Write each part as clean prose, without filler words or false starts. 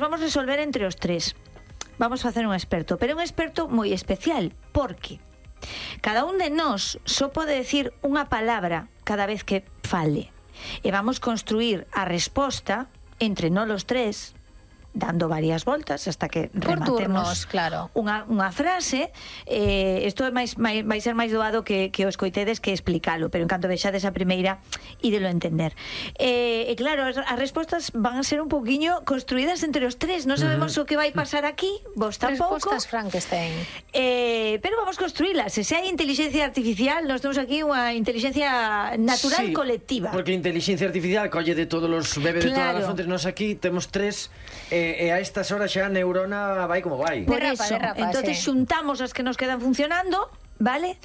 Vamos resolver entre os tres. Vamos facer un experto, pero un experto moi especial, porque cada un de nós só pode decir unha palabra cada vez que fale. E vamos construir a resposta entre nós os tres, dando varias voltas hasta que rematemos claro. unha frase. Isto vai ser máis doado que o escoitedes que explicalo, pero en canto vexades a primeira ídelo entender. E claro, as respostas van a ser un pouquiño construídas entre os tres. Non sabemos o que vai pasar aquí, vos tampouco. Respostas Frankenstein. Pero vamos construílas. Se hai inteligencia artificial, nós temos aquí unha inteligencia natural colectiva. Porque a inteligencia artificial colle de todos os bebés de todas as fontes. Nós aquí temos tres. E a estas horas xa a neurona vai como vai. Por eso, entonces xuntamos as que nos quedan funcionando, vale?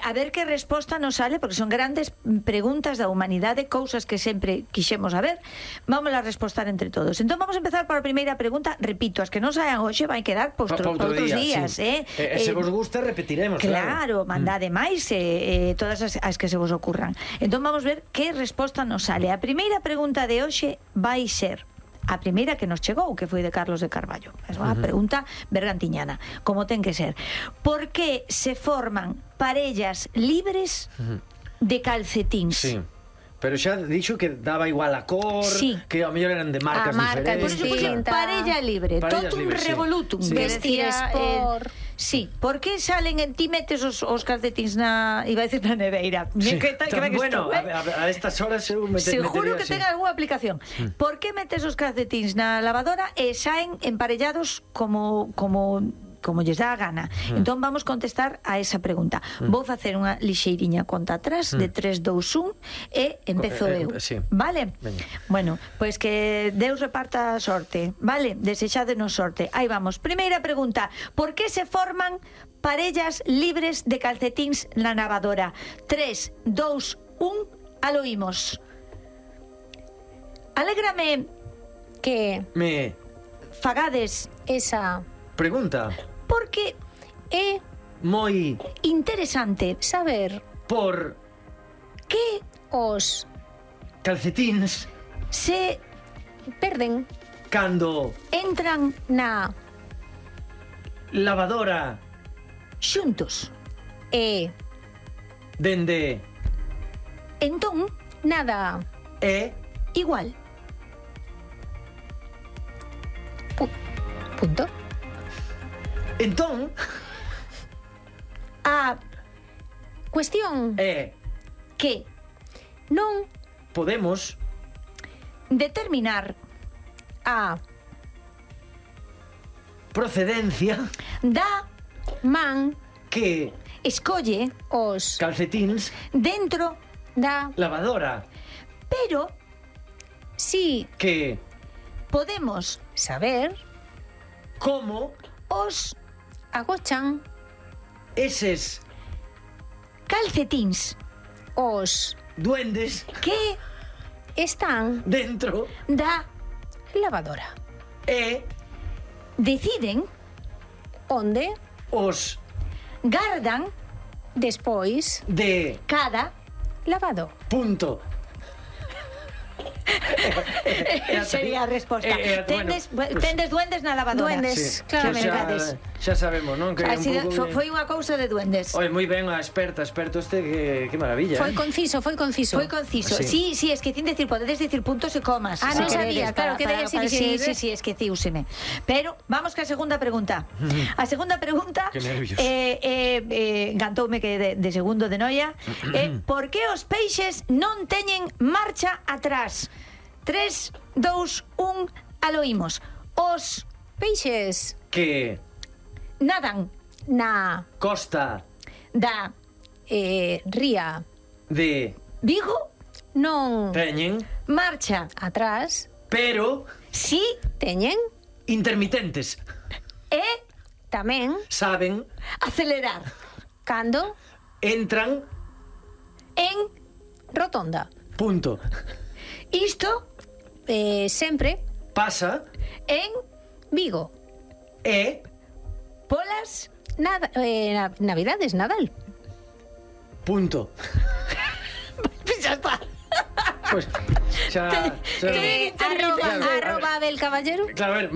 A ver que resposta nos sale, porque son grandes preguntas da humanidade, cousas que sempre quixemos saber. Vamos a respostar entre todos. Entón vamos a empezar por a primeira pregunta. Repito, as que non saian hoxe vai quedar por outros días, sí. Se vos gusta repetiremos, claro, mandade máis todas as que se vos ocurran. Entón vamos ver que resposta nos sale. A primeira pregunta de hoxe vai ser a primeira que nos chegou, que foi de Carlos de Carballo. É unha pregunta bergantiñana, como ten que ser. Por que se forman parellas libres de calcetíns? Sí. Pero xa dixo que daba igual a cor, que ao mellor eran de marcas diferentes. Por eso puxo parella libre, totum revolutum. Vestir sport. Sí, por que salen en ti metes os calcetins iba a decir na neveira? Bueno, a estas horas seguro que ten algunha aplicación. Por que metes os calcetins na lavadora e saen emparellados como lles dá a gana? Entón vamos contestar a esa pregunta. Vou facer unha lixeiriña conta atrás de 3, 2, 1 e empezo eu. Vale? Bueno, pois que Deus reparta a sorte, vale? Desexádenos sorte. Aí vamos. Primeira pregunta. Por que se forman parellas libres de calcetíns na lavadora? 3, 2, 1, alo imos. Alégrame que me fagades esa pregunta, porque é moi interesante saber por que os calcetíns se perden cando entran na lavadora xuntos e dende entón nada é igual. Punto. Entón a cuestión é que non podemos determinar a procedencia da man que escolle os calcetíns dentro da lavadora, pero si que podemos saber como os agochan eses calcetíns os duendes que están dentro da lavadora e deciden onde os gardan despois de cada lavado. Punto. Sería a resposta. Tendes duendes na lavadora. Duendes, claramente. Xa sabemos, non? Que foi unha cousa de duendes. Oi, moi ben a experto este, que maravilla. Foi conciso. Foi conciso. Sí, esquecín decir, podedes decir puntos e comas. Non sabía, claro, que debía ser. Sí, esqueciúseme. Pero vamos ca segunda pregunta. A segunda pregunta encantoume que de segundo de noia. Por que os peixes non teñen marcha atrás? 3, 2, 1, alo imos. Os peixes que nadan na costa da ría de Vigo non teñen marcha atrás, pero si teñen intermitentes e tamén saben acelerar cando entran en rotonda. Punto. Isto sempre pasa en Vigo e polas Navidades, Nadal. Punto. Xa está. Pues xa... Arroba Abel Caballero. Claro, a ver,